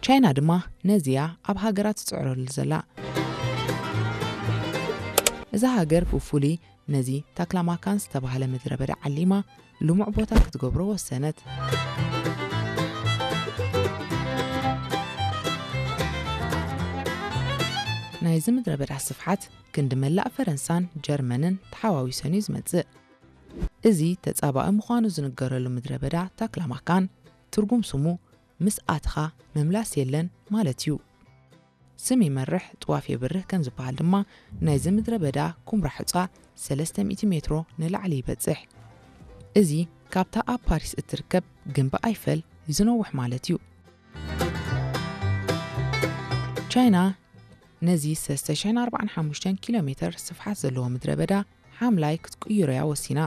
ቻይና ድማ ነዚያ ኣብ ሃገራት ትጽዕረሉ ዘላ። እዛ ሃገር ብፍሉይ ነዚ ታክላማካን ዝተባህለ ምድረ በዳ ዓሊማ ልሙዕ ቦታ ክትገብሮ ወሰነት። ናይዚ ምድረ በዳ ስፍሓት ክንዲ መላእ ፈረንሳን ጀርመንን ተሓዋዊሰን እዩ ዝመጽእ። እዚ ተጻባኢ ምዃኑ ዝንገረሉ ምድረ በዳ ታክላማካን ትርጉም ስሙ ምስ ኣትኻ ምምላስ የለን ማለት እዩ። ስም ይመርሕ ጥዋፍ የብርህ ከም ዝበሃል ድማ ናይዚ ምድረ በዳ ኩምራ ሑጻ ሰለስተ ሚእቲ ሜትሮ ንላዕሊ ይበጽሕ። እዚ ካብታ ኣብ ፓሪስ እትርከብ ግንቢ ኣይፈል ዝነውሕ ማለት እዩ። ቻይና ነዚ ሰለስተ ሽሕን ኣርባዓን ሓሙሽተን ኪሎ ሜተር ስፍሓት ዘለዎ ምድረ በዳ ሓምላይ ክትቅይሮ እያ ወሲና።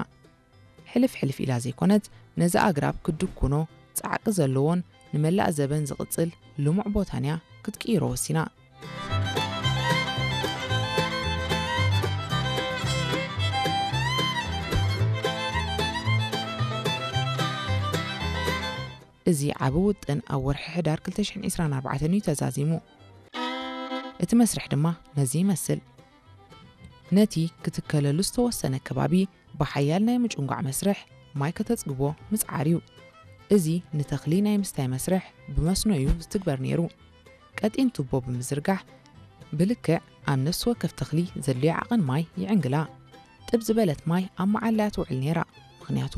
ሕልፍ ሕልፍ ኢላ ዘይኮነት ነዚ ኣግራብ ክትድኩኖ ጻዕቂ ዘለዎን ንመላእ ዘበን ዝቕጽል ልሙዕ ቦታን እያ ክትቅይሮ ወሲና። እዚ ዓቢ ውጥን ኣብ ወርሒ ሕዳር ክልተ ሽሕን ዕስራን ኣርባዕተን እዩ ተዛዚሙ። እቲ መስርሕ ድማ ነዚ ይመስል። ነቲ ክትከለሉ ዝተወሰነ ከባቢ ብሓያል ናይ ምጭንጓዕ መስርሕ ማይ ከተጽግቦ ምጽዓር እዩ። እዚ ንተኽሊ ናይ ምስታይ መስርሕ ብመስኖ እዩ ዝትግበር ነይሩ። ቀጢን ቱቦ ብምዝርጋሕ ብልክዕ ኣብ ነፍሲ ወከፍ ተኽሊ ዘድልዮ ዓቐን ማይ ይዕንግላ። ጥብ ዝበለት ማይ ኣብ መዓላ እያ ትውዕል ነይራ፣ ምኽንያቱ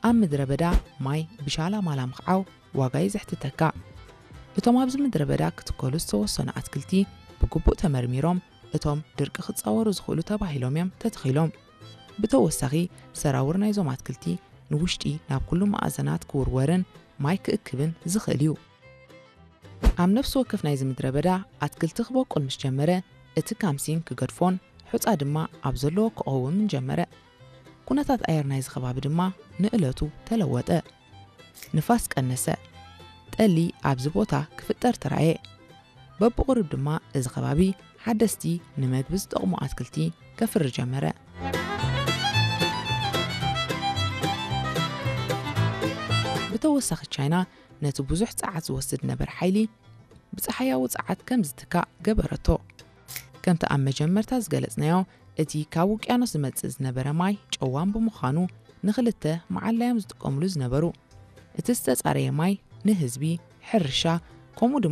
ኣብ ምድረ በዳ ማይ ብሻላ ማላ ምኽዓው ዋጋ እዩ ዘሕትተካ። እቶም ኣብዚ ምድረ በዳ ክትከሉ ዝተወሰኑ ኣትክልቲ ብግቡእ ተመርሚሮም እቶም ድርቂ ክጻወሩ ዝኽእሉ ተባሂሎም እዮም ተተኺሎም። ብተወሳኺ ሰራውር ናይዞም ኣትክልቲ ንውሽጢ ናብ ኩሉ መኣዘናት ክውርወርን ማይ ክእክብን ዝኽእል እዩ። ኣብ ነፍሲ ወከፍ ናይዚ ምድረ በዳ ኣትክልቲ ክበቁል ምስ ጀመረ እቲ ካምሲን ክገድፎን ሑጻ ድማ ኣብ ዘለዎ ክቐውምን ጀመረ። ኩነታት ኣየር ናይዚ ከባቢ ድማ ንእለቱ ተለወጠ። ንፋስ ቀነሰ። ጠሊ ኣብዚ ቦታ ክፍጠር ተራእየ። በብቕሩብ ድማ እዚ ከባቢ ሓደስቲ ንመግቢ ዝጠቕሙ ኣትክልቲ ከፍሪ ጀመረ። ብተወሳኺ ቻይና ነቲ ብዙሕ ጸዓት ዝወስድ ነበረ ሓይሊ ብጸሓያዊ ጸዓት ከም ዝትካእ ገበረቶ። ከምቲ ኣብ መጀመርታ ዝገለጽናዮ እቲ ካብ ውቅያኖስ ዝመጽእ ዝነበረ ማይ ጨዋም ብምዃኑ ንኽልተ መዓላ እዮም ዝጥቀምሉ ዝነበሩ። እቲ ዝተጻረየ ማይ ንህዝቢ፣ ሕርሻ፣ ከምኡ ድማ